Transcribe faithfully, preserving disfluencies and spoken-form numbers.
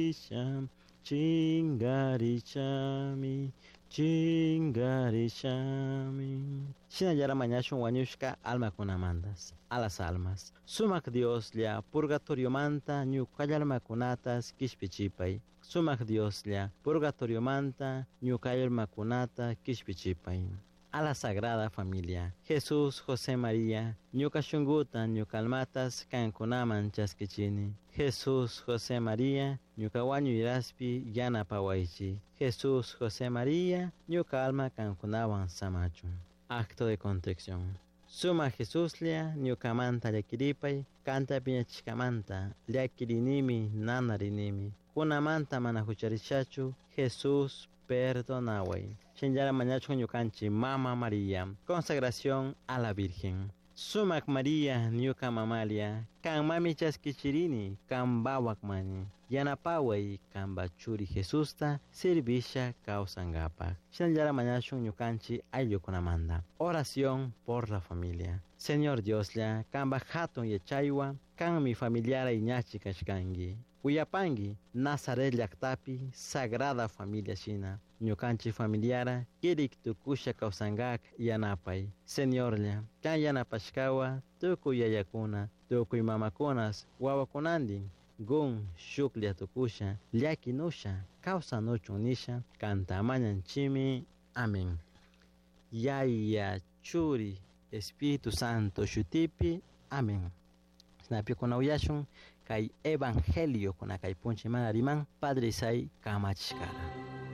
Chingarisha, chingarishami, chingarishami. Shinallara mañashun wañushka almakunamantas, a las almas. Sumak Dioslla, purgatoriomanta ñucalla almakunatas kishpichipay. Sumak Dioslla, purgatoriomanta ñucalla almakunata kishpichipay. A la Sagrada Familia. Jesús, José María, ñuka shunguta, ñuka almatas kankunaman chaskichini. Jesús, José María, ñuka wañuyraspi yanapawaychi. Jesús, José María, ñuka alma kankunawan samachun. Acto de contrición. Suma Jesuslla, ñukamanta llakiripay, kanta piñachishkamanta, llakirinimi, nanarinimi. Kunamanta mana hucharishachu, Jesús, perdonaway. Shinallara mañachun ñukanchi Mama María. Consagración a la Virgen. Sumak María, ñuka mamalia, kan mami chaskichirini, kan bawak mani. Yanapaway kanpa churi Jesusta, servisha kawsankapak. Shinallara mañashun ñukanchi ayllukunamanta. Oración por la familia. Señor Dioslla, kanpa hatun yachaywan, kanmi familiara iñachi kashkanki. Uyapanki, Nazaret llaktapi, Sagrada Familia shina. Ñukanchik familiara, kirik tukusha kawsankak yanapay. Señorlla, kan yanapashkawa, tukuy yayakuna, tukuy mamakunas, wawakunantin, gun shuklla tukusha, llakinusha, kawsanuchun nisha, kanta mañanchimi. Amén. Yaya, Churi, Espíritu Santo shutipi. Amén. Shinapi kuna uyashun kay evangelio kuna kay puncha mana riman Padre Isai kamachishkara.